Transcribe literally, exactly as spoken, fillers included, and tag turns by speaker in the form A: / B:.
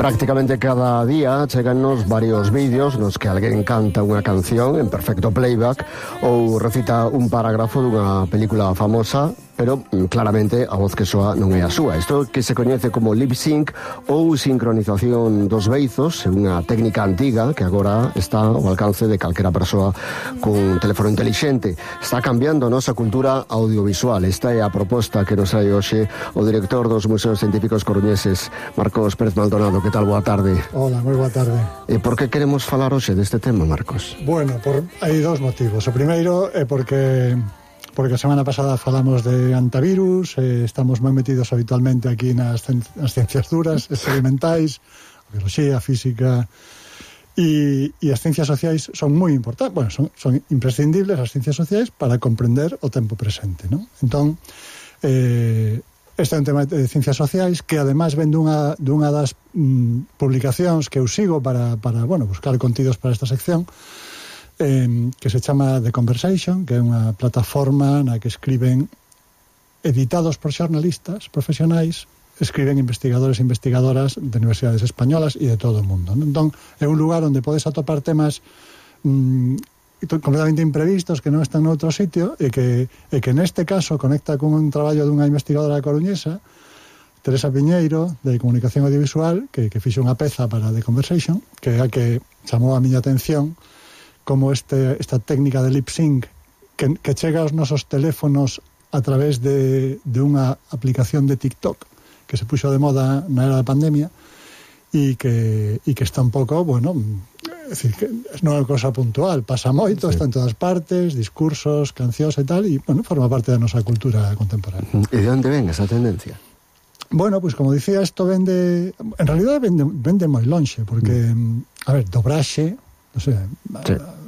A: Prácticamente cada día chegannos varios vídeos nos que alguén canta unha canción en perfecto playback ou recita un parágrafo dunha película famosa, pero claramente a voz que soa non é a súa. Isto que se coñece como lip sync ou sincronización dos beizos, é unha técnica antiga que agora está ao alcance de calquera persoa cun teléfono intelixente. Está cambiando a nosa cultura audiovisual. Esta é a proposta que nos hai hoxe o director dos Museos Científicos Coruñeses, Marcos Pérez Maldonado. Que tal? Boa tarde.
B: Hola, moi boa tarde.
A: E por que queremos falar hoxe deste tema, Marcos?
B: Bueno, por, hai dous motivos. O primeiro é porque porque a semana pasada falamos de antivirus, eh, estamos moi metidos habitualmente aquí nas, nas ciencias duras, experimentais, biología, física, e, e as ciencias sociais son moi importantes, bueno, son, son imprescindibles as ciencias sociais para comprender o tempo presente, non? Entón, eh, este é un tema de ciencias sociais que ademais ven dunha, dunha das mm, publicacións que eu sigo para, para bueno, buscar contidos para esta sección, eh, que se chama The Conversation, que é unha plataforma na que escriben, editados por xornalistas profesionais, escriben investigadores e investigadoras de universidades españolas e de todo o mundo. Entón, é un lugar onde podes atopar temas mm, completamente imprevistos que non están noutro sitio e que, e que neste caso conecta con un traballo dunha investigadora coruñesa, Teresa Piñeiro, de Comunicación Audiovisual, que, que fixe unha peza para The Conversation, que é a que chamou a miña atención como este, esta técnica de lip sync que, que chega aos nosos teléfonos a través de, de unha aplicación de TikTok que se puxo de moda na era da pandemia e que, e que está un pouco, bueno, é dicir, que non é unha cosa puntual, pasa moito, sí. Está en todas partes, discursos, cancións e tal, e, bueno, forma parte da nosa cultura contemporánea.
A: E de onde ven esa tendencia?
B: Bueno, pois pues, como dicía, isto vende, en realidad vende, vende moi lonxe, porque, mm. a ver, dobraxe, non sei, sí.